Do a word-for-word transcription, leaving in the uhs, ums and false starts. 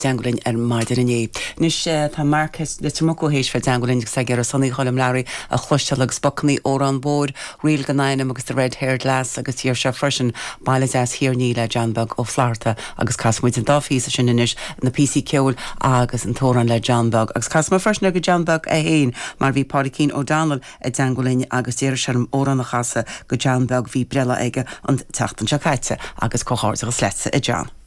dteanglinn ar maidin inné. Anois tá Marc Leitir Muc théis bheith i dteagmháil linn agus ag iarraidh Sonny Choilm Learaí a chloisteáil agus bacannaí Órán Mhór, Ríl gan Ainm agus The Red Haired Lass agus d'iarr sé freisin Baile Deas Thír an Fhia le John Beag Ó Flatharta agus casfaidh muid an dá phíosa sin anois na píosaí ceoil agus an t-amhrán le John Beag. Agus casfaidh mé freisin ag John Beag é féin mar bhí Pádraicín O'Donnell i dteagmháil linn agus d'iarr sé orm amhrán a chasadh go John Beag bhí breithlá aige an tseachtain seo caite agus comhghairdeachas leatsa a John.